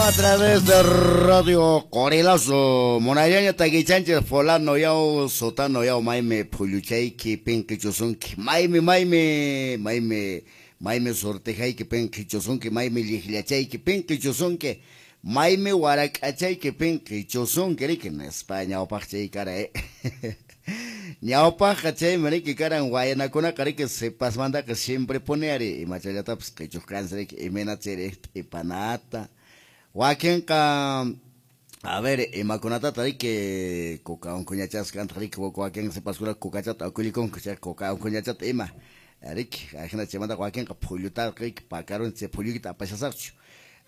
A través de Radio Qorilazo. Munallaña takichanchis fulano yaw, sutano yaw, maymi phulluchayki pinqichusunki. Maymi, maymi, maymi, maymi sortejayki pinqichusunki, maymi lliqllachayki pinqichusunki, maymi warak'achayki pinqichusunki, riki, nispa ñawpaq chay kara, Ñawpaqqa chaymi riki karan waynakunaqa riki sipasmantaqa siempre pone ari imachallatapas qichuq kansi riki imayna chayri t'ipanata. Wakinqa a ver imakunatata riki kuka unquñachasqa kantaq riki wakin sipaskuna kukachata akullikunku chay kuka unquñachata ima riki ajina chaymantaqa wakinqa phullutaqa riki pakarun chay phullukita apashasaqchu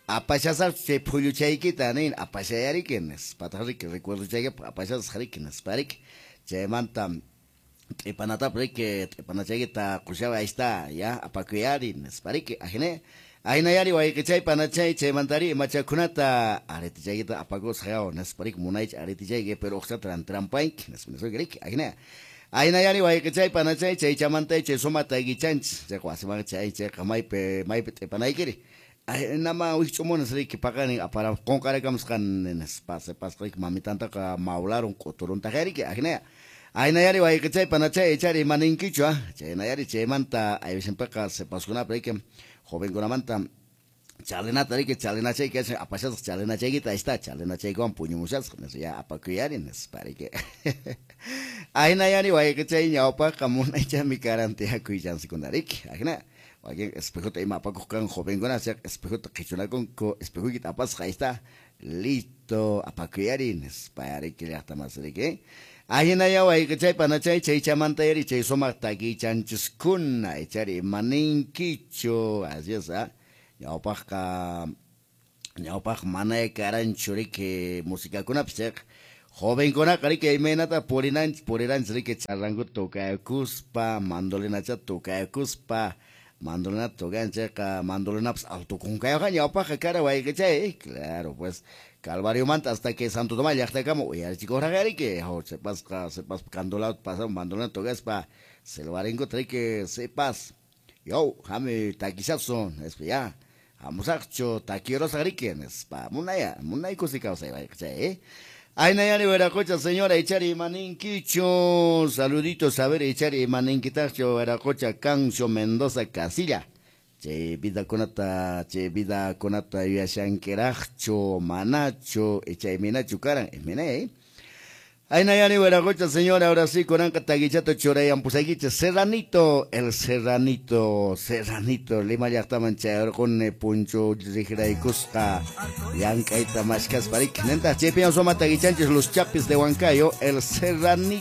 apashasaqchu chay phulluchaykita nin apashayariki nispataq riki recuerdochaykipaq apashasaq riki nispa riki chaymanta t'ipanatapas riki t'ipanachaykita qushaway ahí está ya apakuyari nispa riki ajina Ahinayari wayqichay panachay chaymantari imachakunata aretichaykita apakusaq yaw nispa riki munaycha aretichayki pero uqchata trampanki nispa nispa riki ajina Ahinayari wayqichay panachay chaychamanta chay suma taykichanchis chayqa wasiman chay chayqa maypi maypi t'ipanaykiri nama wikch'umunas riki paqarin apara qunqarakamusqan nispa sipasqa riki mamitantaqa mawlarun q'uturuntaq riki ajina Ahinayari wayqichay panachay ichari imaninkichu chaynayari chaymanta aywisinpiqa sipaskunapi riki jovenkunamanta chalinata riki chalinachayki apashasaq chalinachaykita ahí está chalinachaykiwan puñumushasaq nispa ya apakuyari nispa riki Ahinayari wayqichay ñawpaqqa munaychami karan tiyakuy chansikuna riki ajina wakin espejota ima apakuq kan jovenkuna chayqa espejota qichunakunku espejoykita apasaq ahí está listo apakuyari nispa riki llaqtamasi riki Ahinaya wayqichay panachay chaychamanta yari chay sumaq takichanchiskuna ichari imaninkichu así es ñawpaqqa ñawpaq manaya karanchu riki musikakunapis chayqa jovenkunaqa riki imaynata purinanchis puriranchis riki charrankuta tokayakuspa mandolinachata tokayakuspa mandolinata tokayan chayqa mandolinapas alto kunkayuqqa ñawpaqqa kara wayqichay claro pues Calvariomanta hasta que Santo Tomás llaqtakama uyarichikuqraq riki sipasqa sipaspa candolawta pasamun mandolina tocaspa silbarinkuta riki sipas yaw hami takishasun nispa ya hamusaqchu takirusaq riki nispa munaya munay kusi kawsay wayqichay Aynayari Veracocha, señora, ichari imaninkichu saluditos a ver ichari imaninkitaqchu Veracocha Cancio Mendoza Casilla chay vidakunata yuyashankiraqchu manachu ichay imaynachu karan imaynay Aynayari Veracocha, señora, ahora sí kunanqa takichata churayampushaykichis Serranito, el Serranito, Serranito, Lima llaqtaman chayarquni punchu riqraykusqa llank'ayta mashkaspa riki nintaq chaypiña suma takichanchis Los Chapis de Huancayo, el Serranito.